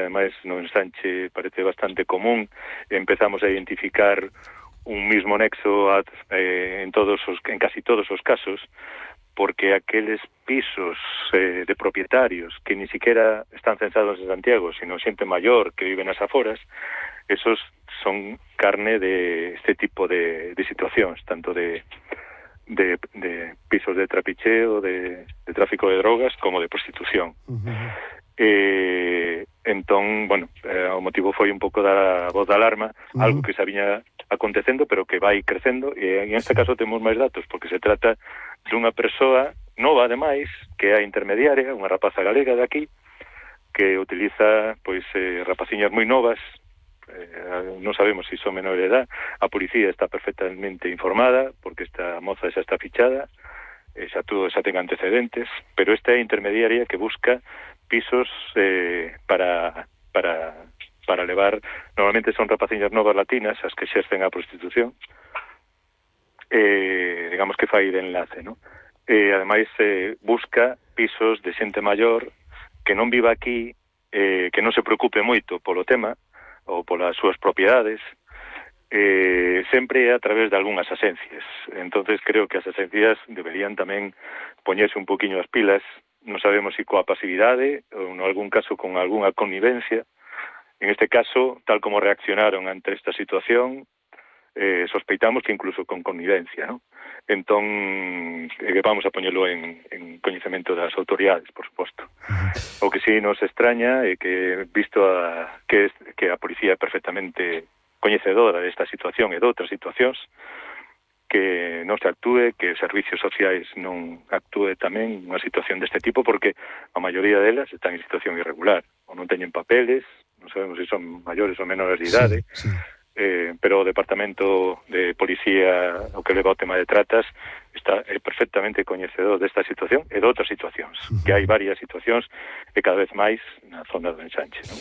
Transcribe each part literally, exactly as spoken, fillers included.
ademais no ensanche parece bastante común, empezamos a identificar un mismo nexo a, eh, en todos os, en casi todos os casos, porque aqueles pisos eh, de propietarios que ni siquiera están censados en Santiago, sino xente maior que vive nas aforas, esos son carne de este tipo de, de situacións, tanto de, de, de pisos de trapicheo, de, de tráfico de drogas, como de prostitución. Uh-huh. Eh, entón, bueno, eh, o motivo foi un pouco da voz de alarma, uh-huh. algo que se viña acontecendo, pero que vai crecendo, e en este caso temos máis datos, porque se trata dunha persoa nova, ademais, que é a intermediaria, unha rapaza galega de aquí, que utiliza, pois, eh, rapaciñas moi novas, eh, non sabemos se si son menores de edad, a policía está perfectamente informada, porque esta moza xa está fichada, eh, xa todo xa ten antecedentes, pero esta é a intermediaria que busca pisos eh, para para para levar, normalmente son rapaciñas novas latinas as que exercen a prostitución, eh, digamos que fai de enlace, ¿no? Eh, ademais, eh, busca pisos de xente maior que non viva aquí, eh, que non se preocupe moito polo tema ou polas súas propiedades, eh, sempre a través de algunhas asencias. Entonces creo que as asencias deberían tamén poñerse un poquinho as pilas, non sabemos se coa pasividade ou en algún caso con algunha connivencia. En este caso, tal como reaccionaron ante esta situación, eh, sospeitamos que incluso con connivencia, ¿no? Entón, eh, vamos a poñelo en, en coñecemento das autoridades, por suposto. O que sí nos extraña é que, visto a, que, que a policía é perfectamente coñecedora desta situación e de outras situacións, que non se actúe, que os servicios sociais non actúe tamén unha situación deste tipo, porque a maioría delas están en situación irregular, ou non teñen papeles, non sabemos se son maiores ou menores de idade, sí, sí. Eh, pero o Departamento de Policía, o que leva o tema de tratas, está é perfectamente coñecedor desta situación e de outras situacións, uh-huh. que hai varias situacións e cada vez máis na zona do ensanche, non?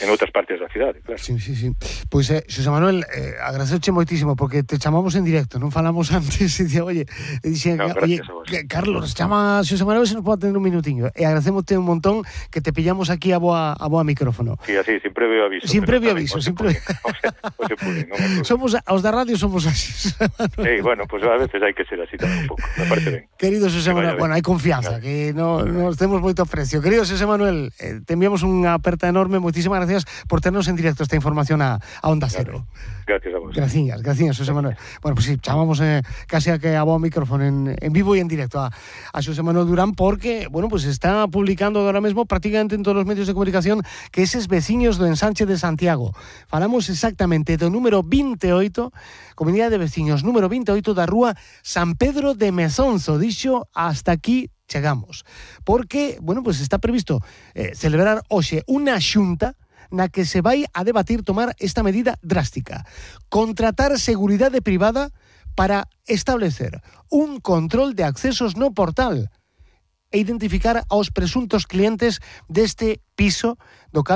En outras partes da cidade, claro. Sí, sí, sí. Pois, eh, Xosé Manuel, eh, agradecerche moitísimo, porque te chamamos en directo, non falamos antes, e dicía, oye, e dixen, no, oye, Carlos, chama Xosé Manuel, se nos pode atender un minutiño, e agradecémote un montón que te pillamos aquí a boa, a boa micrófono. Sí, así, sin previo aviso. Sin previo aviso, sin previo. Somos, aos da radio somos así. Sí, bueno, pues a veces hai que ser así tamén un pouco, me parece ben. Querido Xosé Manuel, bueno, hai confianza, no. que no, nos temos moito aprecio. Querido Xosé Manuel, eh, te enviamos unha aperta enorme, moitísimas gracias por ternos en directo esta información a, a Onda Cero. Gracias a vos. Gracias, gracias, Xosé Manuel. Bueno, pues sí, chamamos eh, casi a que a bo micrófono en, en vivo y en directo a, a Xosé Manuel Durán, porque, bueno, pues está publicando ahora mesmo prácticamente en todos los medios de comunicación que eses veciños do ensanche de Santiago. Falamos exactamente do número veintiocho, Comunidade de Veciños número veintiocho da rúa San Pedro de Mezonzo. Dixo, hasta aquí chegamos. Porque, bueno, pues está previsto eh, celebrar hoxe unha xunta na que se vai a debatir tomar esta medida drástica. Contratar seguridade privada para establecer un control de accesos no portal e identificar aos presuntos clientes deste piso do